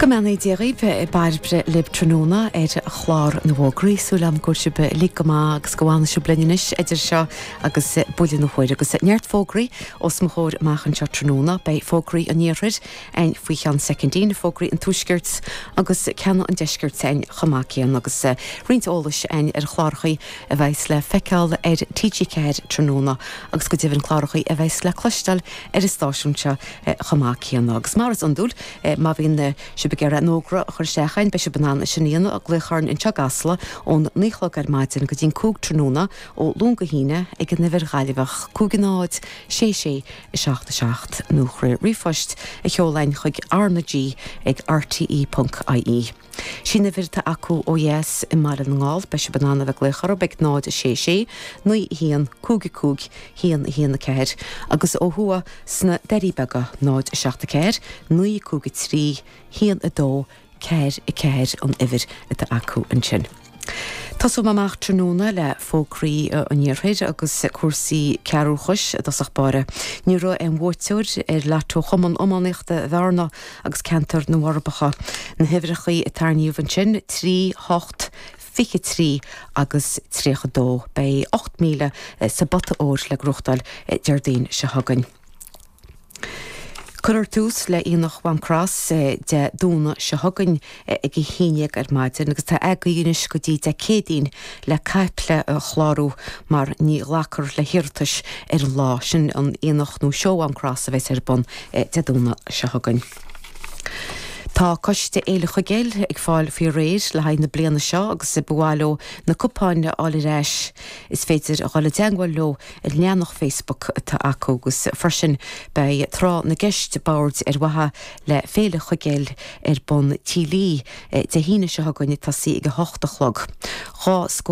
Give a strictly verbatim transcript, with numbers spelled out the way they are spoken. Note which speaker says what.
Speaker 1: Go mbeannaí Dia dhaoibh, Bairbre libh tráthnóna ar chlár na bhfógraí. Súil agam go bhfuil sibh uilig go maith agus go bhfanfaidh sibh linn anois idir seo agus buille na huaire. Agus neart fógraí os mo chomhair amach anseo tráthnóna. Beidh fógraí an iarthair againn faoi cheann soicindín, fógraí an tuaiscirt agus ceann an deiscirt againn chomh maith céanna agus roinnt eolais againn ar chláracha a bheas le feiceáil ar T G ceathair tráthnóna agus go deimhin cláracha a bheas le cloisteáil ar an stáisiún seo chomh maith céanna. Agus mar is iondúil, má bhíonn sibh ag iarraidh an fhógra a chur isteach againn, beidh sibh in ann sin a dhéanamh, glaoch orainn anseo i gCasla ón naoi a chlog ar maidin go dtí'n cúig tráthnóna ó Luan go hAoine ag an uimhir Ghaillimheach cúig náid sé sé seacht seacht nó trí ríomhphost a sheoladh chuig R na G ag R T E ponc I E. Sin uimhir atá acu ó dheas i mBaile na nGall, beidh sibh in ann a bheith ag glaoch orthu ag náid sé sé naoi haon cúig cúig haon haon ceathair agus ó thuaidh sna Doirí Beaga náid seacht ceathair naoi cúig trí haon a dó ceathair ceathair an uimhir atá acu ansin. Tosóidh amach tráthnóna le fógraí an iarthair agus cúrsaí cearrbhachais i dtosach báire. Ní raibh aon bhuaiteoir ar Lotto Chumann Iománaíochta Bhearna agus ceantar na bhForbacha. Na huimhreacha a tarraingíodh ansin trí hocht fiche trí agus tríocha dó. Beidh ocht míle sa bpota óir le gnóthachtáil Déardaoin seo chugainn. Cuirfear tús le Aonach Mhám Cross Dé Domhnaigh seo chugainn ag a haon déag ar maidin agus tá agaibh anois go dtí Dé Céadaoin le caiple a chlárú mar ní ghlacfar le hiarratais ar an lá sin. An Aonach nó Seó Mhám Cross a bheas ar bun Dé Domhnaigh seo chugainn. Tá coiste Fhéile Chuigéil ag fáil faoi réir le haghaidh na bliana seo agus ba mhaith leo na cupáin a fháil ar ais. Is féidir a dhul i dteagmháil leo ar leathanach Facebook atá acu agus freisin beidh tráth na gceist boird ar mhaithe le Féile Chuigéil ar bun Tí Lee Dé hAoine seo chugainn tosaí ag a hocht a chlog. Dhá scór